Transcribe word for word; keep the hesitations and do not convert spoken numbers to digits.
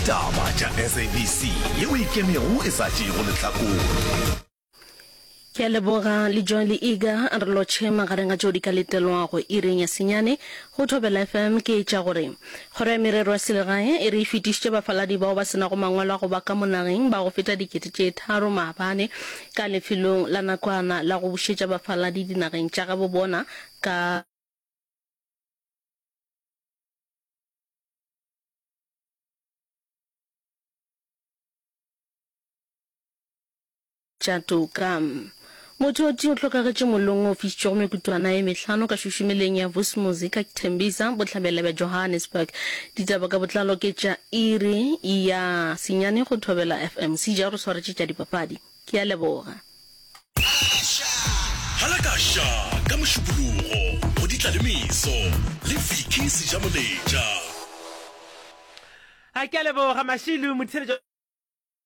Ditaba tša SABC yeo e ikemego e sa tšeego lehlakore. Ke a leboga le Joy le Iga re lotšhe magareng a tšeo di ka letelwago iring ya senyane go Thobela FM ke tša gore Kgoro ya Merero ya Selegae e re e fetišitše bafaladi bao ba se nago mangwalo a go ba ka mo nageng ba go feta dikete tše tharo maabane ka lefelong la nakwana la go bušetša bafaladi dinageng tša gabo bona ka Tša toka. Motho o tee o hlokagetše mollong wo o fišitšego mekutwana ye mehlano ka šušumeleng ya Vusumuzi ka Tembisa, bohlabela bja Johannesburg. Ditaba ka botlalo ke tša iri ya senyane go Thobela FM. Seja o re swaretše tša dipapadi. Ke a leboga. Halakaša ka Mošupologo go Ditlalemeso le Vicky Sejamoletša. A ke a leboga Mashilu motheeletši.